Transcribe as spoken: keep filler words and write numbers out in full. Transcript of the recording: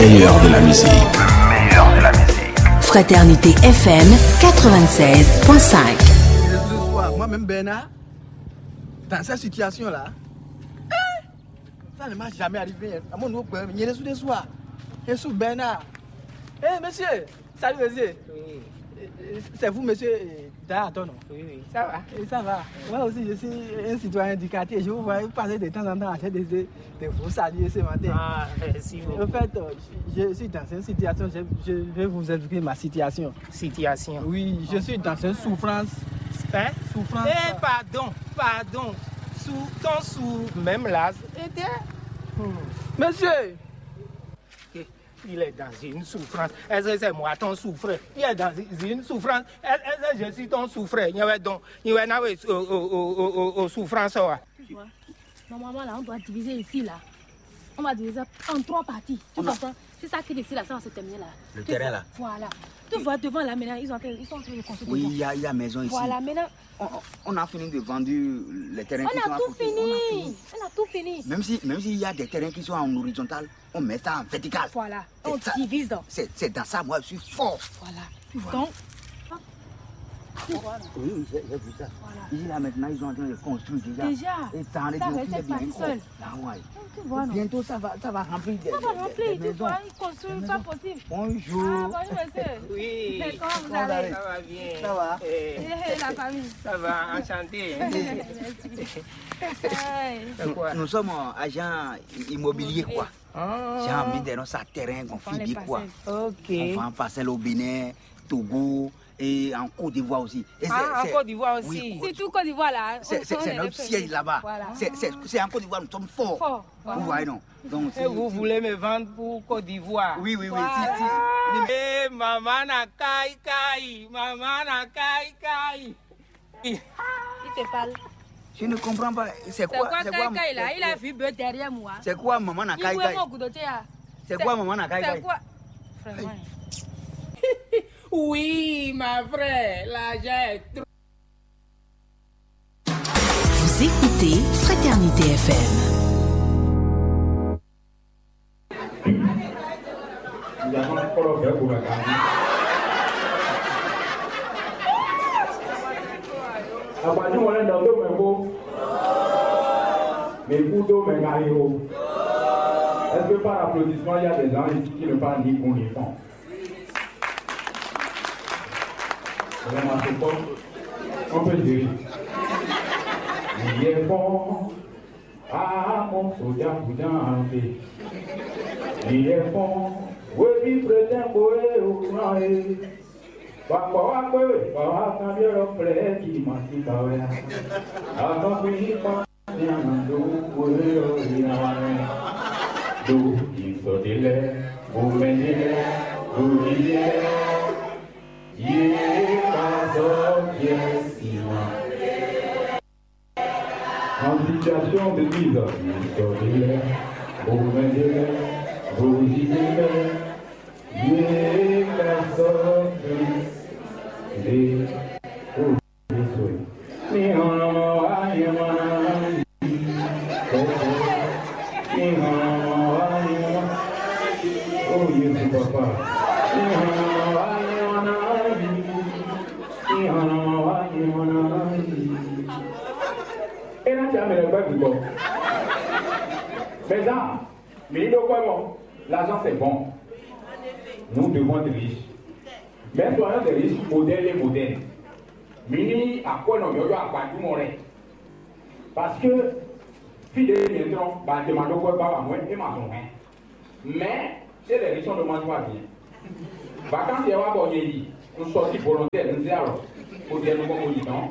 Meilleur de la musique. Fraternité F M quatre-vingt-seize point cinq. Ce soir, moi-même, Bernard, dans cette situation-là, ça ne m'a jamais arrivé. À mon nouveau problème, il y a des sous des soirs. Et sous Bernard. Eh, monsieur, salut, monsieur. Oui. Euh, euh, c'est vous, monsieur, euh, Dara, ton nom. Oui, oui, ça va. Et ça va. Moi aussi, je suis un citoyen du quartier. Je vous vois passer de temps en temps à des, des, des faux saluts ce matin. Ah, merci beaucoup. En fait, euh, je, je suis dans une situation, je, je vais vous expliquer ma situation. Situation. Oui, je suis dans une souffrance. Hein? Souffrance. Eh, pardon, pardon. Sous, ton sous, même là, c'était. Hmm. Monsieur, il est dans une souffrance. Est-ce que c'est moi ton souffreur? Il est dans une souffrance. Est-ce que je suis ton souffreur? Il y avait donc, il y en avait au, au, au, au, au souffrance, ouais. Tu vois, normalement, là, on doit diviser ici, là. On va diviser en trois parties. Tu comprends? C'est ça qui décide là, ça va se terminer là. Le terrain là. Voilà. Tu vois, devant là, maintenant, ils, ont, ils sont en train de construire. Oui, il y a, il y a maison ici. Voilà, maintenant. On, on a fini de vendre les terrains qui sont à côté. On a tout fini. On a tout fini. Même si, même s'il y a des terrains qui sont en horizontal, on met ça en vertical. Voilà. On divise donc. C'est dans ça, moi, je suis fort. Voilà. Tu vois. Donc, oui, oui, j'ai vu ça. Voilà. Ici, là, maintenant, ils sont en train de construire déjà. Déjà. Et ça, ça va être parti seul. Ah ouais. Tu vois, non? Bientôt, ça va, ça va remplir des, ça va remplir, des maisons. Tu vois, ils construisent pas possible. Bonjour. Ah, bonjour, monsieur. Oui. Comment vous allez? Ça va bien. Ça va. Eh, la famille. Ça va, enchanté. Merci. Nous, nous sommes agents immobiliers, quoi. Ah. J'ai envie de lancer un terrain qu'on fait quoi. Ok. On vend parcelle au Bénin, Togo et en Côte d'Ivoire aussi. Et ah, en Côte d'Ivoire aussi. Oui, surtout Côte d'Ivoire là. C'est notre siège là-bas. Voilà. C'est en Côte d'Ivoire, nous sommes forts. Fort. Voilà. Vous voyez, non? Donc, et vous voulez me vendre pour Côte d'Ivoire? Oui, oui, oui. Voilà. Si, si. Eh, maman na kai kai, maman na kai kai. Il te parle. Je ne comprends pas. C'est quoi, c'est quoi, kai kai là? Il a vu bœuf derrière moi. C'est quoi, maman na kai kai? C'est quoi, maman na kai kai? C'est quoi? Vraiment. Oui, ma vraie, l'argent est trop. Vous écoutez Fraternité F M. Ìyá máa ń kọ́rọ̀ bẹ́ẹ̀ kó bàtà mi. Àgbàdo wọn lẹ́nu ọdún mẹ́kó. Mais écoute, mais Mario, est-ce que par applaudissement, il y a des gens ici qui ne parlent ni con ni fond? Vraiment, c'est bon. On peut gérer. Il est fort. Ah, mon soldat, vous en avez. Il est fort. Oui, puis, prétend, oui, au courant, eh. Papa, wa kwe, papa, kan bi ro ple ki ma ti ba we. A kan bi pa ni a na do we ro ya. Do ki so de le, bo me de le, bo di de le. Ye ka so ye si ma. En situation de mise, historique, bourgmestre, bourgmestre, ye personne de. Oh, Jésus, papa. E ná tsa mɛ lɛ gbɛ gbigbɔ. Mɛ zan, mi ɖo kpɛ mɔ, l'argent c'est bon. Nous devons être riches. Mais soyons des riches modèles et modernes. Mi ní akwɛ́nɔ yɔyɔ agbadumɔ lɛ. Parce que fí ɖě nyɛ trɔ́n ba jɛ ma ɖó kpɛ ba wa mɔ̌ é ma zɔn hɛn. Mais chez les riches on ne mange pas bien. Vacances yɛ wá bɔ nyɛ yi, un sorti volontaire, un zé alors. Faut dire nous comme on dit non.